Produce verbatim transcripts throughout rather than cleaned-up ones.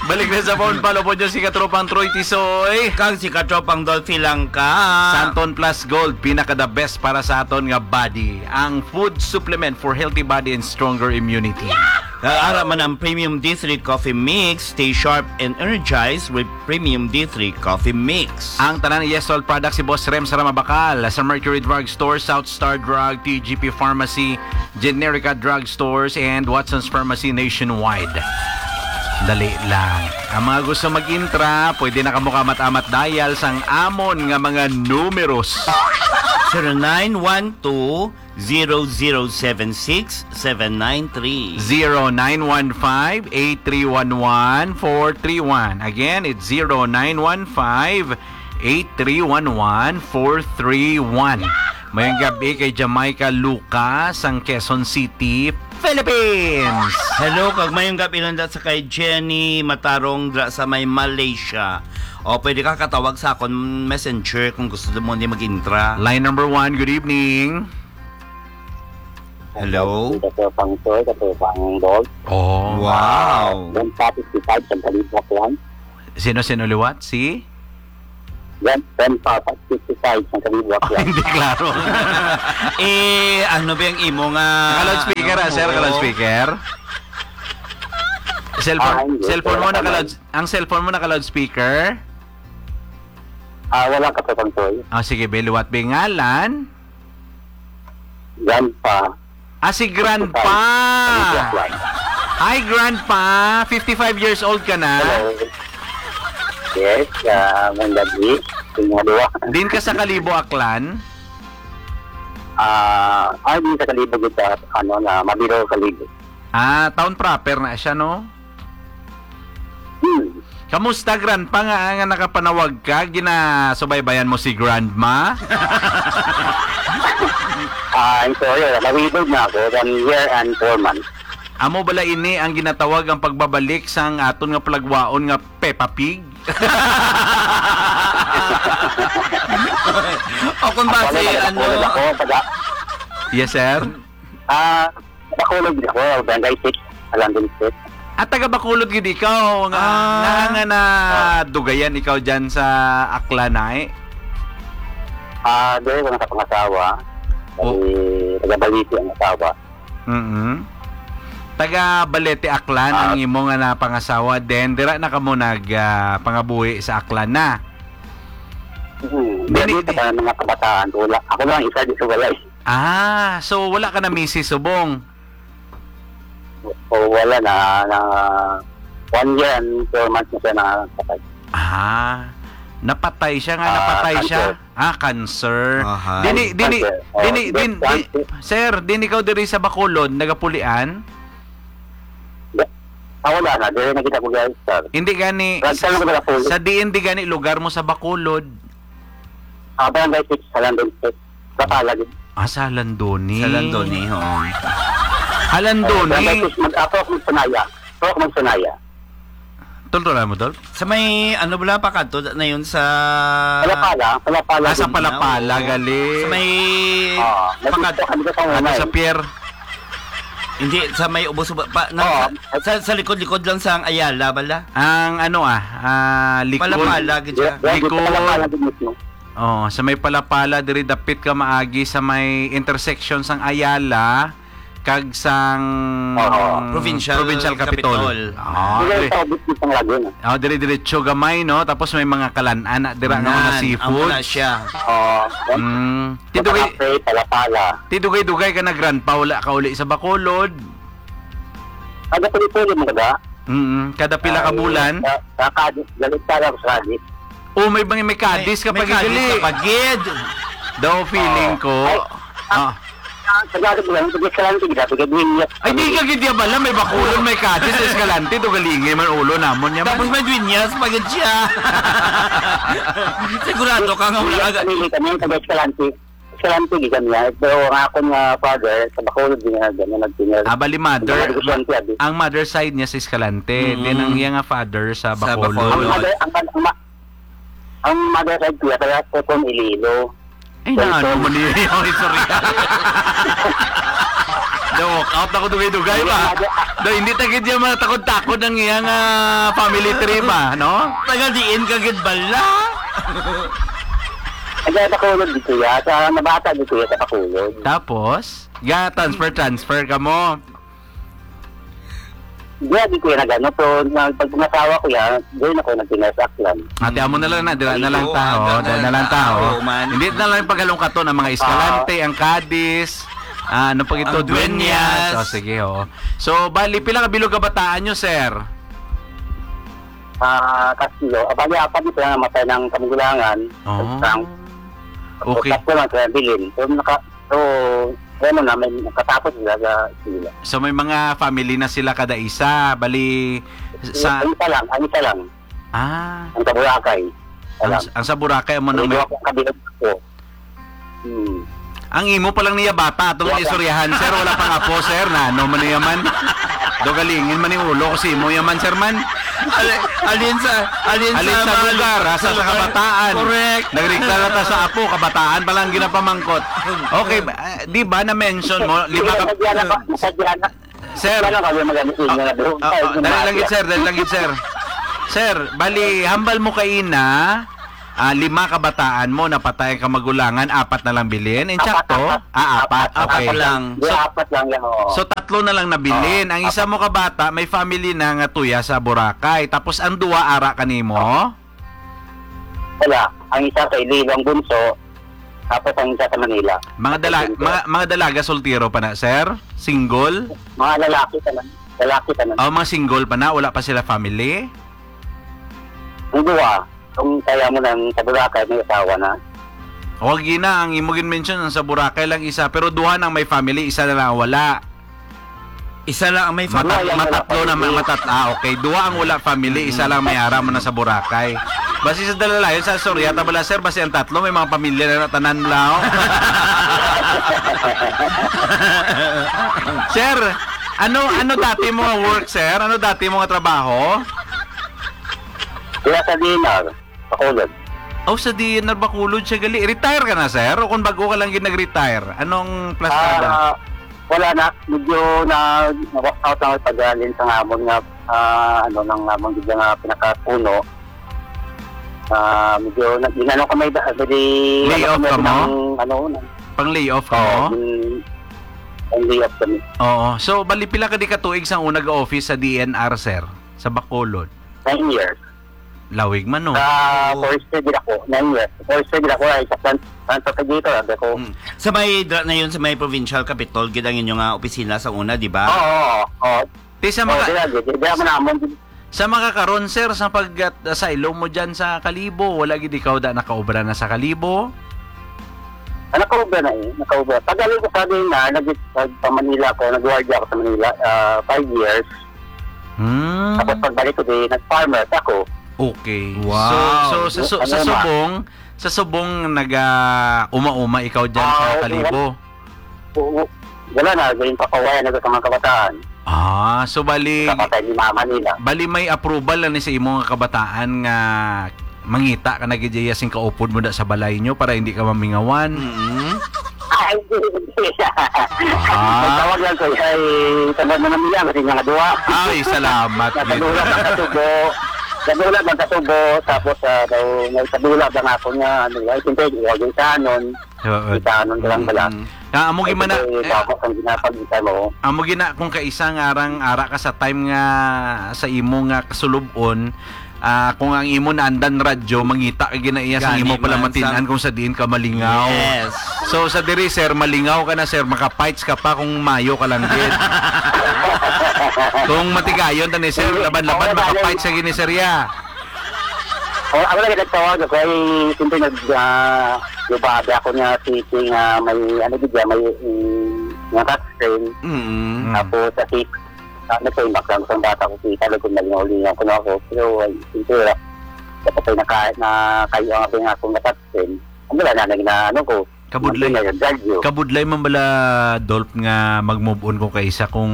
Balik na sa phone, follow po nyo si Katropang Troy Tisoy. Kag si Katropang Dolphy Langka. Santon Plus Gold, pinaka the best para sa aton nga body. Ang food supplement for healthy body and stronger immunity. Ah, ara man ang Premium D three Coffee Mix. Stay sharp and energized with Premium D three Coffee Mix. Ang tanan Yes All products si Boss Rem sa Ramabakal, sa Mercury Drug Store, South Star Drug, T G P Pharmacy, Generica Drug Stores, and Watson's Pharmacy nationwide. Dali lang. Ang mga gusto mag-intra, pwede na kamo kamat-amat dial sang amon nga mga numeros. Zero nine one two, zero zero seven six, seven nine three. Zero nine one five, eight three one one, four three one. Again, it's zero nine one five, eight three one one, four three one. Mayong gabi kay Jamaica Lucas, ang Quezon City, Philippines. Hello, kag mayong gabi lang da sa kay Jenny Matarong dra sa may Malaysia. O, pwede ka katawag sa akon messenger kung gusto mo ni mag-intra. Line number one, good evening. Hello? Katropang Toy, Katropang Dol. Oh. Wow. One topic si Five, sa Kalibak lang. Sino, sino liwat? Si? Yan, ten pa, fifty-five, sa Kalibak lang. Hindi klaro. Eh, ano ba yung imo nga Naka-loudspeaker, ah, sir? Naka-loudspeaker? Cellphone, Ah, hindi. Cellphone mo Wala naka-loud-, naman. Ang cellphone mo naka-loudspeaker? Ah, wala, Katropang Toy. Ah, sige, be, liwat, be, ngalan? Grandpa. Ah, si Grandpa. Hi, Grandpa. Fifty-five years old ka na? Hello. Yes, ah, may gabi. Yung mga duwa. Din ka sa Kalibo, Aklan? Ah, ah, din sa Kalibo, kita, ano, na Mabiro, Kalibo. Ah, town proper na siya, no? Hmm. Kamusta, Grandpa, nga, nga nakapanawag ka? Ginasubaybayan mo si Grandma? Ah, I'm sorry, ah, na-widowed na ako, one year and four months. Amo bala ini ang ginatawag ang pagbabalik sang aton nga palagwaon nga Peppa Pig? O kung ba Ako si, na, ano, ako, taga- Yes, sir. Ah, Bacolod ako, Barangay six, Alandon Street. Ah, taga Bacolod gid ikaw, nga, Ah. nga, nga na Ah. dugayan ikaw dyan sa Aklanay? Ah, diri ko nakapangasawa. Oh. Kay taga Balete ang asawa. Mm-mm. Taga Balete, Aklan, Ah. ang imo nga napangasawa. Then, dira na kamo nag, ah, pangabuhi sa Aklan na? Hmm. Dili, Dili, di- sa mga kabataan, wala. Ako lang isa di sa walay. Ah, so wala ka na misis subong? O, wala na, na one year and four months na siya nakapatay. Ah, napatay siya nga, Ah, napatay siya? Cancer. Ah, cancer. Aha. Dini, dini, Cancer. Oh, dini, breast din, di, cancer. Sir, din ikaw diri sa Bacolod, nagapulian? Ah, wala na. Diri na kita ko, guys, sir. Hindi gani, Brad, sa, saan ako nagapulian? Sa diin di gani lugar mo sa Bacolod? Ah, Barangay six, Alandon Street. Sa Pala, gid. Ah, sa Alandoni. Sa Alandoni, oo. Alandoni. Oh, Barangay six, mag-, ako, ako magsanaya. Ako magsanaya. Tol, tol, ano mo, tol? Sa may, ano, wala pa kadto na yun sa Palapala, Palapala Ah, sa din. Palapala, Oo. gali. Sa may Ah, pakad- nandito kami sa Ano, Pangunay. sa pier? Hindi, sa may ubos-ubos, pa, na, Oo. sa, sa, sa likod-likod lang sa Ayala, bala. Ang ano, ah, ah, likod. Palapala, gid siya. Yeah, yeah, Likod. Palapala din mismo. Oh, sa may Palapala, diri dapit ka maagi sa may intersection sang Ayala kag sang Oo. Provincial Provincial Capitol. Capitol. Ah, Dili diri. Sa ubos mismo lagi na. Oh, diri diretso gamay, no? Tapos may mga kalan-an na dira nga mga Nan, seafood. Amo na siya. Oo. Mm. Ti dugay, Sa Cafe, Palapala. Ti dugay-dugay ka na, Grandpa, wala ka uli sa Bacolod. Kada puli-puli mo kada? Mm, kada pila ka Ay, bulan? Sa, sa Cadiz, galit ka lang sa Cadiz. Oh, may, may, may Cadiz ka May, may pa Cadiz gid. Ka pa gid. Daw feeling Oo. ko. Ay, Ah. ah, sa Cadiz lang, sa Escalante, gid, sa Dueñas. Ay, di ka gid ya bala, may Bacolod, may Cadiz, Escalante, do galingi man ulo namon ya man. Tapos may Dueñas pa gid siya. Sigurado ka nga wala Dueñas, ka ga- pamili kami, taga Escalante. Escalante, gid kami, ah. Pero ang akon nga father, sa Bacolod, di na, di na nagtingal. Ah, bali mother, Mga negosyante, ma-, abi. Ang mother side niya sa Escalante, Mm. din ang iya nga father sa Sa Bacolod. Bacolod. Ang mother, ang, ang, ma-, ang mother side ko, kaya sa Quezon, Iloilo. Ay, Quezon. Na ano mo niya yung istorya? Walk out ako dugay-dugay ba? Daw, hindi ta gid yan matakod-takod ang iyang, ah, family tree ba, no? Taga diin ka gid bala? Taga Bacolod di kuya. Sa nabata di kuya sa Bacolod. Tapos, ga transfer, transfer ka mo. Di, di kuya nagano. So, nag-, pag pangasawa ko yan, doon ako nagpinasaklan. Ate, amo na lang na, dira na lang Oo, taho, anda dira na na lang lang taho, taho. man. Hindi na lang paghalong katon ang mga eskalante, Ah. ang kadis, ah, ano pa gito, Ang duenyas. duenyas. Oh, sige, oh. So, bali, pila ka bilog kabataan nyo, sir? Ah, tatlo. Ah, bali, apat ito na namatay ng kamugulangan. Oh. Isang Okay. tatlo lang sila bilin. So, naka-, so, ano na, may nakatapos sila sa sila. So, may mga family na sila kada isa. Bali, sa Ang isa lang, ang isa lang. Ah. Ang sa Boracay. Isa Ang, lang. ang sa Boracay, amo na May may duha pang kabilog ko. Hmm. Ang imo pa lang niya bata, atong Wala. istoryahan, sir, wala pang apo, sir, na ano man niya man. Dogalingin man yung ulo ko si imo yaman, sir, man. Ali-, alin sa, alin Alin sa sa mga lugar, ha, sa, sa sa lugar. kabataan. Correct. Nagregla na ta sa apo, kabataan pa lang ginapamangkot. Okay, ba, ah, di ba na-mention mo, lima ka Sadya na ba? Sadya na. Sir. Wala kami magaling sa inyo Ah, na doon. ah, Ay, ah, dali lang gid, sir, dali lang gid, sir. Sir, bali, hambal mo kaina, ah, lima kabataan mo, napatay ang kamagulangan, apat na lang bilin. Apat, Insakto? apat. Ah, apat. Apat, Okay. apat lang. Di, So, apat lang yan, oo. so, tatlo na lang nabilin. Oo, Ang isa apat. mo ka bata, may family na nga tuya sa Boracay. Tapos ang duwa, ara kanimo? Wala. Ang isa sa Iloilo, ang bunso. Tapos ang isa sa Manila. Mga dala-, Bunso. mga, mga dalaga, soltero pa na, sir? Single? Mga lalaki pa na. Lalaki pa na. Oh, mga single pa na, wala pa sila family? Ang duwa, kung kaya mo nang sa Boracay, may asawa na. O, agi na, ang imo gin-mention, ang sa Boracay lang isa, pero duha nang may family, isa na lang ang wala. Isa lang ang may Mata-, family. Wala, yung wala matatlo na, family. ma-, matat-, ah, okay. Duha ang wala family, isa Mm. lang may ara mo na sa Boracay. Basi sa dalalayon, sa Soriata bala, sir, basi ang tatlo, may mga pamilya na tanan, lao. Sir, ano, ano dati mo nga work, sir? Ano dati mo nga trabaho? Wala sa D N R. Bacolod. Oh, sa D N R Bacolod siya gali. Retire ka na, sir? O kung bago ka lang gid nag-retire? Anong plastada? Ah, wala na. Medyo na, na-walk out lang pag-alin sa ngamon nga, ah, ano, nang ngamon gid nga pinakapuno. Ah, medyo na, ginano kami da-, dali, Lay ano off kami ka mo? ng, ano, ng Pang lay off ka Oo, mo? gin-, ang lay off kami. Oo. So, bali pila ka di ka tuig sa una ga-office sa D N R, sir? Sa Bacolod? Nine years. Lawig man, no? Sa Oo. forestry gid ako, nine years. Forestry gid ako, ay, sa plant, plant propagator, abi ko. Mm. Sa may dra-, na yun, sa may provincial capitol, gid ang inyo nga opisina sa una, di ba? Oo, oo, oo. Ti sa Oo, mga, di lagi. Di, di ako namon. sa mga karon, sir, sa pag-, sa ilo mo dyan sa Kalibo, wala gid ikaw da nakaobra na sa Kalibo? Ah, nakaobra na eh, nakaobra. Pag-alin ko sa din na, nag-, nag-, pa Manila ako, nag-guardia ako sa Manila, ah, five years. Hmm. Tapos pagbalik ko din, nag-farmers ako. Okay. Wow. So, so, sa, su-, Ano sa na? Subong, sa Subong, naga-uma-uma ikaw dyan sa Ah, Kalibo? oo. Wala na, yung papawaya na sa mga kabataan. Ah, so bali, Kapatay ni mama nila. bali may approval na ni sa imo nga kabataan nga mangita ka na gid iya sing kaupod mo da sa balay nyo para hindi ka mamingawan? Mm. Ay, hindi, hindi. Ah. Nagtawag lang ko, ay, tawag na naman yan, kasi nga duwa. Ay, salamat gid. Nasadula ang kasubo. Nasadula ang kasubo, tapos, ah, daw, may sadula ba nga ako nga, ano, ay, siyempre, huwag yung sanon. Oo. Kita anong lang bala. Mm. Ah, amo Ay, gid man na, ito, eh, tapos ang ginapagita mo. Amo gid na kung kaisa nga arang ara ka sa time nga sa imo nga kasulub-on, ah, kung ang imo naandan radyo, mangita ka gid na iya sa Gani imo pala man, matin-an sang- kung sa diin ka malingaw. Yes. So, sa diri, sir, malingaw ka na, sir, maka-fights ka pa kung mayo ka lang gid. Kung matigayon ta ni sir, Hindi. laban-laban, Oo, maka-fights ka gid ni sir, ya. Oh, ako lang nagtawag ako ay siyempre nag, ah, lubada ako nga city nga may, ano gid, may, mm, nga tax frame. Mm. Mm. Tapos sa city, ah, nagpaimbak lang sa bata ko, kita lang kung naging ulingan ko na ako. Pero, ay, siyempre, ah, kapatay na ka-, na kayo ang abing ako nga tax frame. Ang wala na, naging na, ano ko, Kabudlay. Ang pinay, ang galyo. Kabudlay man bala, Dolph, nga mag-move on ko kaisa kung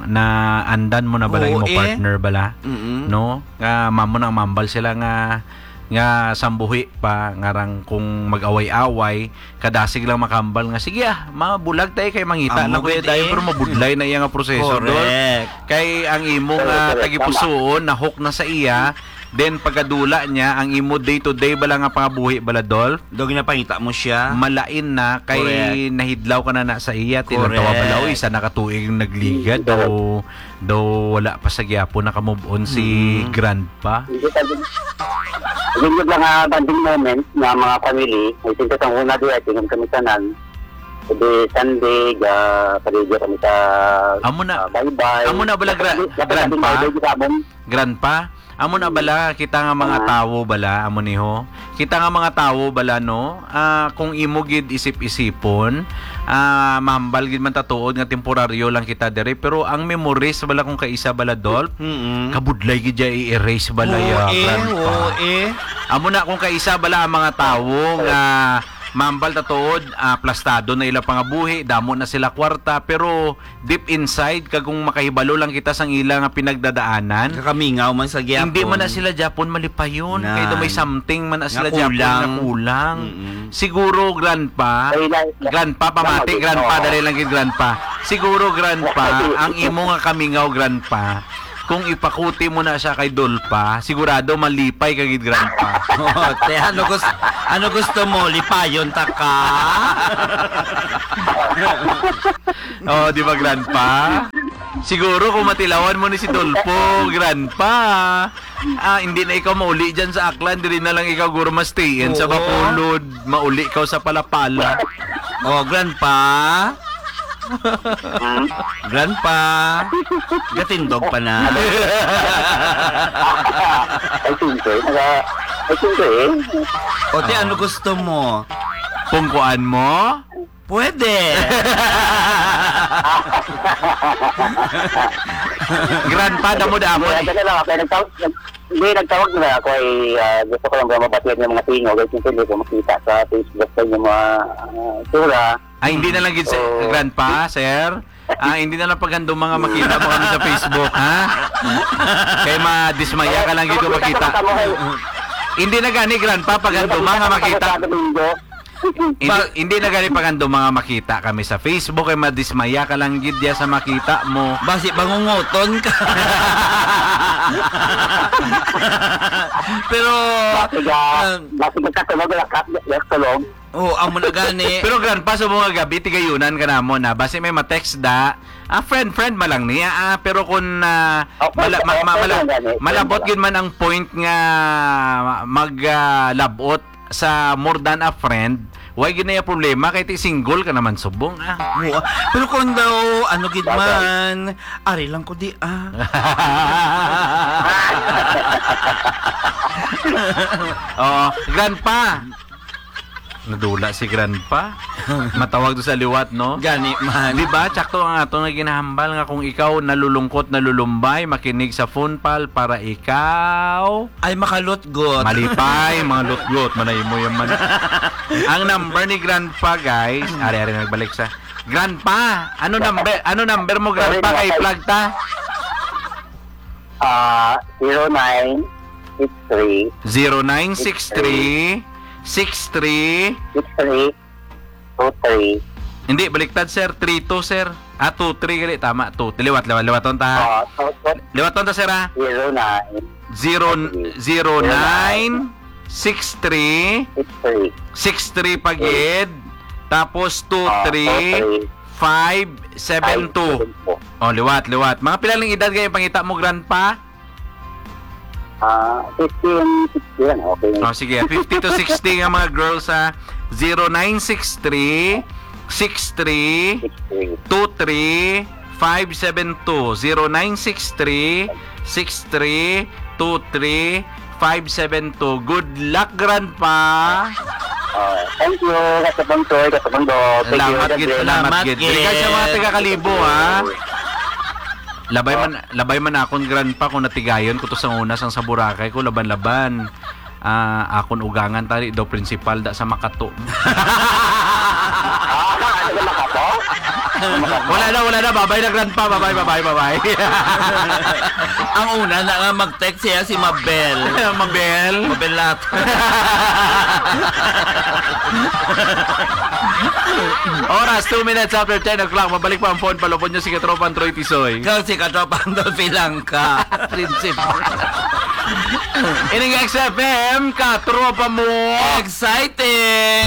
naandan mo na bala Oo, imo eh. partner bala? Mm-mm. No? Nga mamo na mambal sila nga nga sambuhi pa, nga rang kung mag-away-away, kadasig lang makambal nga, "Sige, ah, mabulag tayo kay mangita Amo lang ko gid dayon," eh. Pero mabudlay na iya nga proseso, Dol. Correct. Kay ang imo Correct, nga correct. Tama. Tagipusoon, na-hook na sa iya, then pagkadula niya, ang imo day-to-day bala nga pangabuhi bala, Dol, Daw ginapangita mo siya. Malain na, kay Correct. Nahidlaw ka na na sa iya, tilantawa Correct. Bala, "Uy, isa na ka tuig yung nagligad, Mm, daw, daw wala pa sa gyapon, naka-move on si Mm. Grandpa." Hindi pa din. Hindi lang, ah, bonding moment nga mga family. Ay, since ang una di, ay, tingin kami tanan. Hindi Sunday, ga, paligya kami sa, Amo na, ah, baybay. Amo na bala, gra-, Nasa, nasa grandpa? Baybay sa amon. Grandpa? Amo na bala, kita nga mga Ah. tawo bala, amo ni ho? Kita nga mga tawo bala, no? Ah, kung imo gid isip-isipon, ah, mahambal gid man ta tuod nga temporaryo lang kita diri, pero ang memories bala kung kaisa bala, Dolph, Mm-mm. kabudlay gid ya i-erase bala Oo, ya, eh, grandpa. Oo, eh. Amo na kung kaisa bala ang mga tawo nga mahambal ta tuod, ah, plastado na ila pangabuhi, damo na sila kwarta, pero deep inside, kag kung makahibalo lang kita sang ila nga pinagdadaanan, Kakamingaw man sa gyapon. Hindi man na sila gyapon malipayon. Kay daw may Nan. Something man na Nga sila gyapon nga kulang. Kulang. Mm-mm. Siguro, grandpa, Ay, na, na, grandpa, pamati, na, grandpa, oh. Dali lang gid, grandpa. Siguro, grandpa, ang imo nga kamingaw, grandpa, kung ipakuti mo na siya kay Dolpa, sigurado malipay ka gid, grandpa. Oh, te, ano gus-, ano gusto mo? Lipayon ta ka? Oh, di ba, grandpa? Siguro kung matilawan mo ni si Dolpo, grandpa, ah, hindi na ikaw mauli dyan sa Aklan, diri na lang ikaw guro ma-stay-in sa Oo. Bacolod, mauli ikaw sa Palapala. Oh, grandpa? Hmm? Grandpa? Gatindog pa na. Ay, siyempre. Naka-, ay, siyempre, eh. O, te, ano gusto mo? Pungkuan mo? Pwede. Grandpa, damo-damo Hindi, eh. Ano lang, ako, nagtawag, nag-, hindi, nagtawag na ako ay, ah, gusto ko lang ba mabatian yung mga tingog, ay siyempre hindi ko makita sa Facebook sa inyong mga, ah, itsura. Ay, hindi na lang gid, sir, Oo. Grandpa, sir. Ah, hindi na lang paghandom mga makita mo kami sa Facebook, ha? Kay madismaya ka lang gid kung makita. Tama, tama, tama. Hindi na gani, Grandpa, paghandom mga makita. Tama, tama, tama. Hindi, Ba- hindi na gani paghandom mga makita kami sa Facebook, kay madismaya ka lang gid diya sa makita mo. Basi bangungoton ka. Pero, Basi ka, ah, basi ka katulog, wala ka, wala ka tulog. Oh, amo na gani. Pero, Grandpa, sa mga gabi, tigayunan ka namon, ha? Basi may ma-text da. Ah, friend, friend man lang niya, ah, pero kung, ah, Okay, mala-, ma-, okay ma-, mala-, lang gani, friend malabot lang. Gid man ang point nga mag, ah, labot sa more than a friend, why gid na yung problema? Kay ti single ka naman subong, ah. Oo, ah. Pero kung daw, ano gid Bagay. Man, ari lang ko di, ah. Oh, Grandpa. Nadula si Grandpa. Matawag do sa liwat, no? Gani man. Di ba, tsakto ang ato nga ginahambal nga kung ikaw nalulungkot, nalulumbay, makinig sa Phone Pal para ikaw Ay, makalutgot. Malipay, mga lutgot, manay mo yung man. Ang number ni Grandpa, guys, ari, ari, nagbalik sa Grandpa. Ano number, ano number mo, Grandpa? Kay flag ta? Ah, zero nine six three. Zero nine six three, six three. Six three, two three. Hindi, baliktad, sir. Three two, sir. Ah, two three, gali. Tama, two. Liwat, liwat, liwaton ta, ha? Ah, two two. Liwaton ta, sir, ha? Zero nine. Zero, Sige. Zero nine, six three, Six three. Six three pagid. Tapos Ah, two three, two three. Five seven two. Five seven two. Oh, liwat, liwat. Mga pila lang edad kayo pangita mo, Grandpa? Ah, fifteen, sixteen, okay. Oh, sige. Fifty to sixty nga mga girls, ha. Zero nine six three, six three, Six three. Two three, five seven two. Zero nine six three, six three, two three, five seven two. Good luck, Grandpa. Ah, thank you, Kasabangsoy, Kasabangdo. Thank you, Salamat God gid, bless. Salamat Salamat gid. Dili ka sa mga gid. Taga Kalibo, ha? Labay Ah. Man, labay man akon, Grandpa, kung natigayon ko to sa una, sang sa Boracay ko, laban-laban. Ah, akon ugangan tali daw principal da sa Makato. Ah, ano sa Makato? Wala na, wala na. Babay na, grandpa. Babay, babay, babay. Ang una na nga mag-text siya si Mabel. Mabel? Mabelat. Oras, two minutes after ten o'clock. Mabalik pa ang phone. Palupon nyo si Katropang Troy Tisoy. Kag si Katropang Dolphy Langka. Principal. Ining X F M, katropa mo. Exciting!